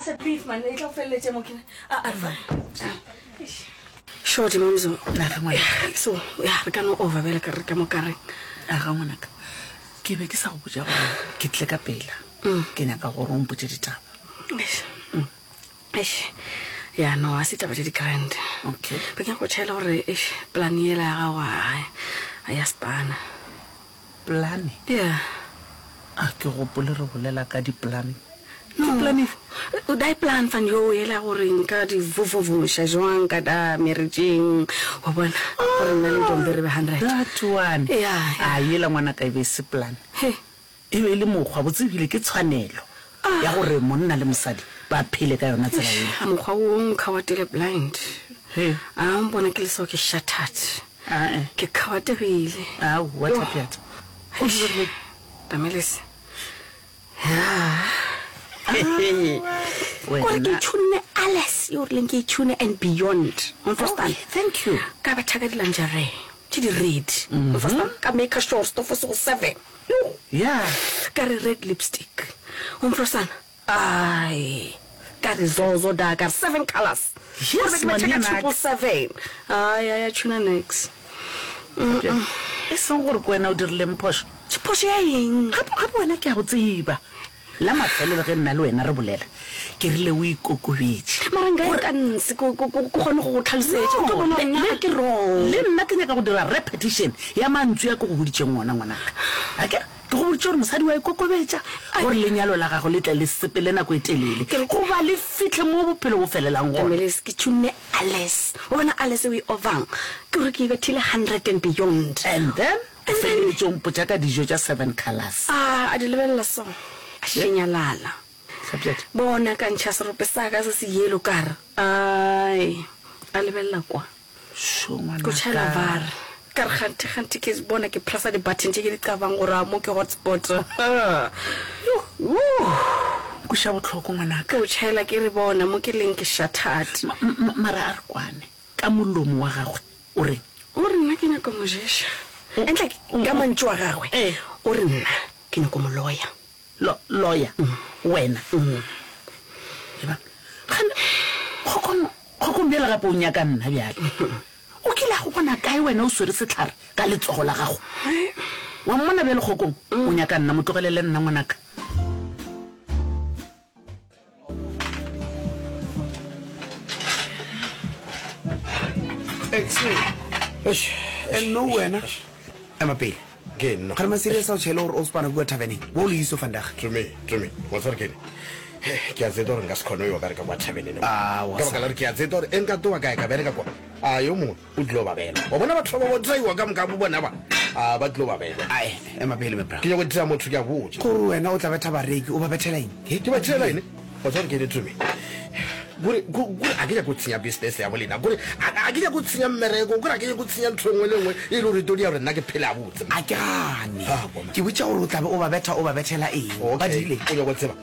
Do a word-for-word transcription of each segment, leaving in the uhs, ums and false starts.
said beef man e tla go feleletše mo ke a a re shorty mamzo Naga ngwanaka. so ya re ka no over bjale ka re ka mo kareng Aga ngwanaka. Ke be ke sa go botša gore ke tle ka pela. Ke nyaka gore o mpotše ditaba. Eish. Eish. ya no a se taba tše di-grand Okay. be ke nyaka go tšhaela gore eish plan yela ya gago a a ya spana Plane. ya A ke gopole re bolela ka di-plan. No. Ke plan efe? Daai plan van jou yela gore nka di vovovoša jwang ka da marriageng wa bona gore nna le ntombi re be hundred That one. Ya, ya. A yela ngwanaka e be e se plan. He. E be e le mokgwa botse ebile ke tshwanelo ya gore monna le mosadi ba phele ka yona tsela eo. mokgwa wo nkgawatile blind He. a mpona ke le so ke shattered Ae. ke kgawategile Aowa Thapiata. O dirile tamelese kore ke wena. itšhunne alles yo rileng ke itšhune and beyond Okay, thank you. ka betha ka di-lingerie tše di-red mm ka make sure stofo se go seven Yo. Yeah. ka re red lipstick omfrosana ai ka re zozo da ka re seven colors Yes, Gore be ke betha ka ngwanenaka. triple seven ai ai a tšhuna nex E seng gore ke wena o dirileng phošo. phošo ya eng Gape gape wena ke a go tseba. La mafelelo ge nna le wena re bolela, ke rile o ikokobetše. mara nka e ka nse ko ko- ko- ko kgone go go tlhalosetša o tlo bona gore le- nna le- ke wrong le nna ke nyaka go dira repetition ya mantswe a ke go boditšeng ona ngwanaka. Akere ke go boditše gore mosadi wa ikokobetša gore lenyalo la gago le tle le sepele nako e telele goba le fitlhe mo bophelo bo felelang gona. Tameles ke tšhunne alles o bona alles o e ovang ke gore ke e bethile hundred and beyond And then o feleletše o mpotša ka dijo tša seven colours. a a di lebelela so a šenyalala Hlapjadi. bona ka ntšha serope sa ka se se yelo kare ai a lebelela kwa Sho ko tšhaela ngwanaka. var ka re kganthe kganthe ke bona ke pressa di-button tše ke di qabang gore a mo ke hotspot Kweša bohloko ngwanaka. ke o tšhaela ke re bona mo ke leng ke shattered Ma- ma- mara a re kwane ka molomo wa gagwe o reng o re nna ke nyako mo ješa entle ka mantšu wa gagwe Eh. o re nna ke nyako mo loya Lo- lawyer wena Eba, gane kgokong kgokong bjale gape o nyaka nna bjale o kile a go bona kae wena o swere setlhare ka letsogo la gago wa mmona bjale kgokong o nyaka nna mo tlogelele nna ngwanaka Eish, and no wena ema pele ke nna gare maserious a o tšhele gore o spana kua taverneng bo o le iso vandag Tumi, Tumi, wa tseba gore ke eng? Ke a tseba gore nka se kgone ho yo ka re ka kwa taverneng. Ah, wa Ka baka la gore ke a tseba gore e nka tloga kae ka bereka kwa. A yo mongwe o tlilo ba bela. Wa bona batho ba ba traiwa ka moka bo bona ba. A ba tlilo ba bela. ae ema pele mebra Ke nyako dira motho ke a botša. gore wena o tla betha bareki o ba bethela eng He? Ke ba thela eng? Wa tseba gore ke eng, Tumi? Kore ko- kore a ke nyake go tshenya business ya bolena. Kore a a ke nyake go tshenya mmereko. Kore a ke nyake go tshenya ntho e nngwe le e nngwe e le gore e tlo dira gore nna ke phele habotse. a ke gane Ah, bona. ke botša gore o tlabe o ba betha o ba bethela eng ba Okay, dirile o nyaka go tseba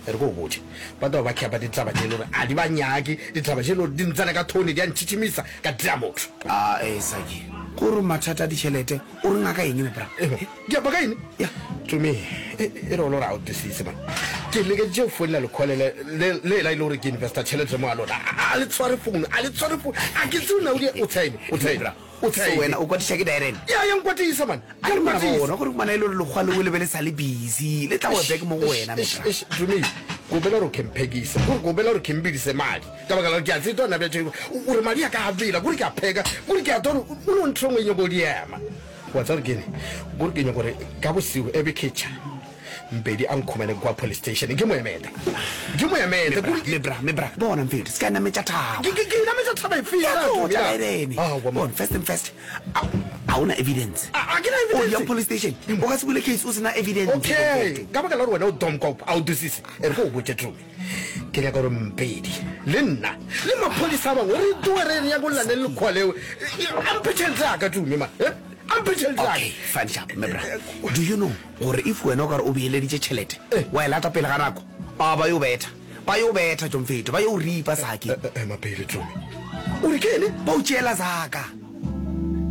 e re ko o botse ba taba ba khepa ditaba tše e le gore a di ba nyake ditaba tše e le gore di ntsena ka thone di a ntšhitšhimisa ka dira motho a e sake gore mathata a ditšhelete o re ngaka eng mebra ke apa ka eng Ya. tome e e re o le gore a o tesise man ke lekeditše go founela lekgole le le- le la e le gore ke investa tšhelete mo a lona A- a le tshware founu a le tshware founu a ke tseo na o di- o tshaene o tshaene o so wena tshaene o kwatiša ke direne ya ya nkwatisa man a ya re mara nkwatisa bona gore kumana e le gore lekgwa leo le be le sa le busy le tla go back mo go wena mebra tumi kopela gore kemphekise kore kopela gore kembidise madi ka baka la gore ke a tseta ona bja ore madi a ka a bela kore ke a pheka kore ke a tore o no ntho e nngwe e nyako di ema wa tsa gore kene kore ke nyako gore ka bosigo e be ketšha mpedi a nkhumane kwa police station ke mo emete ke mo emete kore ke- mebra mebra bona mfetho se ka nametša thaba ke ke- ke nametša thaba efe Ya yena, tlotla Tumi, ya? direne Ah, wa mo- bona first and first a a ona evidence A- a ke na o evidence. yang police station o ka se bule case o sena evidence okay ka baka la gore wena o domkop a o dosise e re ko o botse tumi ke nyaka gore mpedi le nna le maphodisa a bangwe re toe re re ya go llane le lekgowa leo amphe tšhelete yaka tumi man eh? amphe tšhelete okay yaka fine sharp mebra do you know gore if wena o kare o beeleditše tšhelete wa e lata pele ga nako a ba yo betha ba yo betha jomfeto ba yo ripa sake mapele tumi o re ke ene ba o tšeela zaka